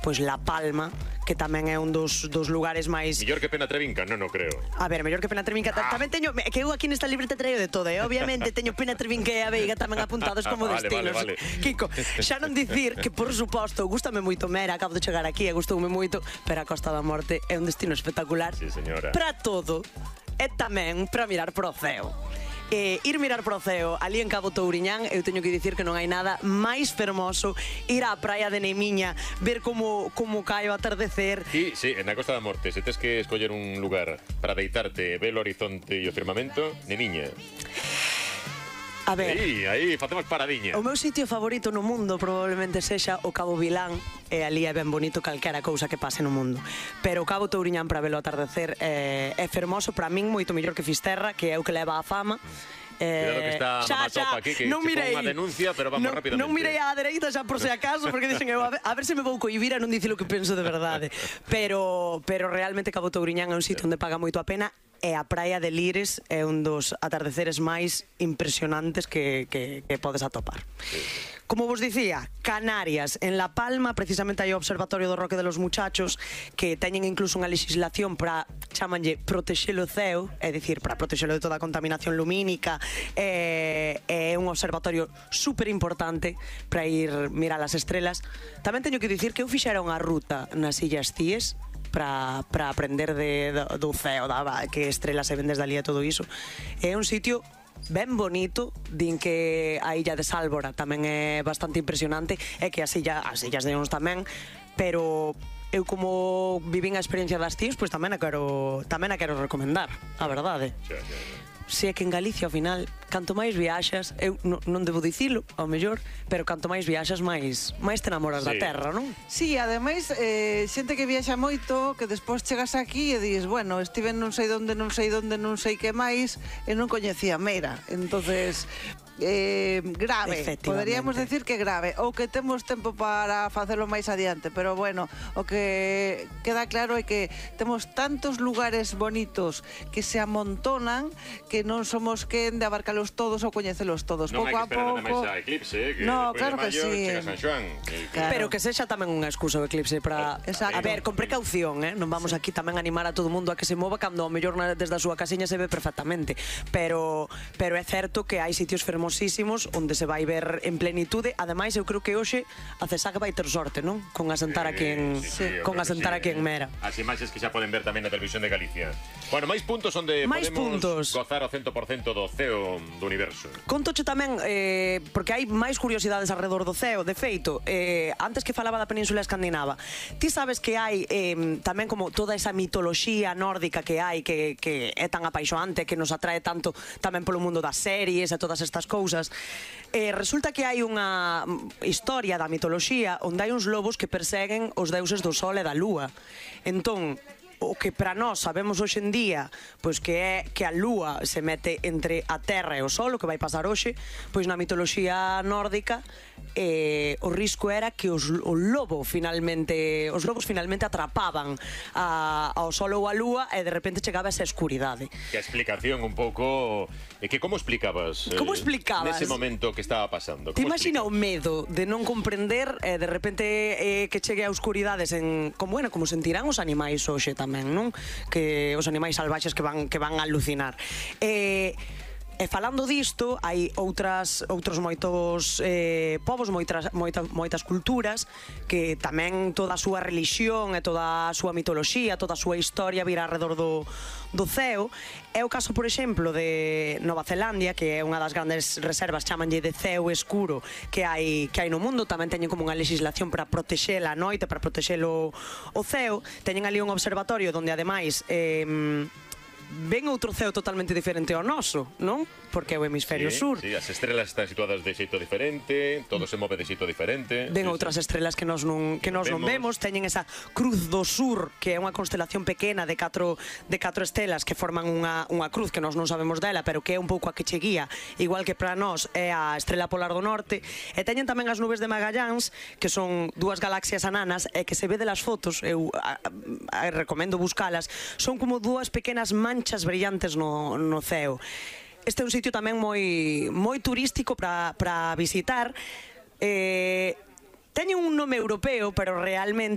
pois La Palma, que tamén é un dos lugares máis... Mellor que Penatrevinca, non creo. A ver, mellor que Penatrevinca. Tamén teño, que eu aquí nesta libreta traio de todo, obviamente teño Penatrevinca e a Veiga tamén apuntados como destinos. Vale. Kiko, xa non dicir que, por suposto, gústame moito Mera, acabo de chegar aquí e gustoume moito, pero a Costa da Morte é un destino espectacular. Sí, señora. Para todo, e tamén para mirar pro ceo. Ir mirar pro ceo ali en Cabo Touriñán, eu teño que dicir que non hai nada máis fermoso. Ir á praia de Nemiña, ver como cae o atardecer. Sí, na Costa da Morte, se tes que escoller un lugar para deitarte, ver o horizonte e o firmamento, Nemiña. A ver, aí facemos paradiña. O meu sitio favorito no mundo probablemente sexa o Cabo Vilán, e ali é ben bonito calquera cousa que pase no mundo. Pero o Cabo Touriñán para velo atardecer é fermoso, para min moito mellor que Fisterra, que é o que leva a fama. Cuidado que está Mamá Topa aquí, que non se mirei, pon unha denuncia, pero vamos rápidamente. Non mirei á dereita xa por se acaso, porque dixen eu, a ver se me vou cohibir a non dicir o que penso de verdade. Pero realmente Cabo Touriñán é un sitio onde paga moito a pena, e a praia de Lires é un dos atardeceres máis impresionantes que podes atopar. Como vos dicía, Canarias, en La Palma, precisamente hai o Observatorio do Roque de los Muchachos, que teñen incluso unha legislación para, chamanlle, protexer o ceo, é dicir, para protexelo de toda a contaminación lumínica, é un observatorio super importante para ir mirar as estrelas. Tamén teño que dicir que eu fixera unha ruta nas Illas Cíes, para aprender do ceo, que estrelas se ven desde ali e todo iso. É un sitio ben bonito, din que a illa de Sálvora tamén é bastante impresionante, e que as illas de Ons tamén, pero eu como vivín a experiencia das Cíes, pois tamén a quero recomendar, a verdade. Se é que en Galicia, ao final, canto máis viaxas, eu non debo dicilo, ao mellor, pero canto máis viaxas, máis te enamoras da terra, non? Sí, ademais, xente que viaxa moito, que despois chegas aquí e dis, bueno, estive non sei que máis, e non coñecía Mera. Entonces, grave, poderíamos decir que grave, ou que temos tempo para facelo máis adiante, pero bueno, o que queda claro é que temos tantos lugares bonitos que se amontonan que non somos quen de abarcalos todos ou coñecelos todos. Non pouco hai que esperar nada máis a eclipse, que no, despois claro de maio chega San Xoán. Pero que sexa tamén unha excusa o eclipse para... A ver, con precaución, non vamos aquí tamén animar a todo o mundo a que se mova cando ao mellor desde a súa casiña se ve perfectamente, pero é certo que hai sitios fermosísimos onde se vai ver en plenitude. Ademais, eu creo que hoxe a CESAC vai ter sorte, non? Con asentar aquí en Mera. As imaxes que xa poden ver tamén na televisión de Galicia. Bueno, máis puntos onde podemos gozar ao 100% do ceo do universo. Contoche tamén, porque hai máis curiosidades alrededor do ceo. De feito, antes que falaba da Península Escandinava, ti sabes que hai tamén como toda esa mitoloxía nórdica que hai, que é tan apaixoante, que nos atrae tanto tamén polo mundo das series e todas estas cousas. Resulta que hai unha historia da mitoloxía onde hai uns lobos que perseguen os deuses do sol e da lúa. Entón, o que para nós sabemos hoxe en día, pois que é que a lúa se mete entre a terra e o sol, o que vai pasar hoxe, pois na mitoloxía nórdica o risco era que os lobos finalmente atrapaban ao sol ou a lúa, e de repente chegaba esa escuridade. Que a explicación un pouco é que como explicabas nese momento que estaba pasando? Te imagina o medo de non comprender de repente que chegue a oscuridades como sentirán os animais hoxe tamén, non? Que os animais salvaxes que van a alucinar. E falando disto, hai outros moitos povos, moitas culturas, que tamén toda a súa religión e toda a súa mitoloxía, toda a súa historia vira alrededor do ceo. É o caso, por exemplo, de Nova Zelandia, que é unha das grandes reservas, chamanlle de ceo escuro, que hai no mundo. Tamén teñen como unha legislación para protexela a noite, para protexelo o ceo. Teñen ali un observatorio onde, ademais, ven outro ceo totalmente diferente ao noso, non? Porque é o hemisferio sur. Sí, as estrelas están situadas de xeito diferente, todo se move de xeito diferente. Ven outras estrelas que nós non vemos. Teñen esa Cruz do Sur, que é unha constelación pequena de 4 estelas que forman unha cruz que nós non sabemos dela, pero que é un pouco a que che guía, igual que para nós é a estrela polar do norte. E teñen tamén as nubes de Magalláns, que son dúas galaxias ananas, e que se ve delas fotos, eu recomendo buscalas, son como dúas pequenas manchas brillantes no ceo. Este é un sitio tamén moi turístico para visitar. Teñen un nome europeo, pero realmente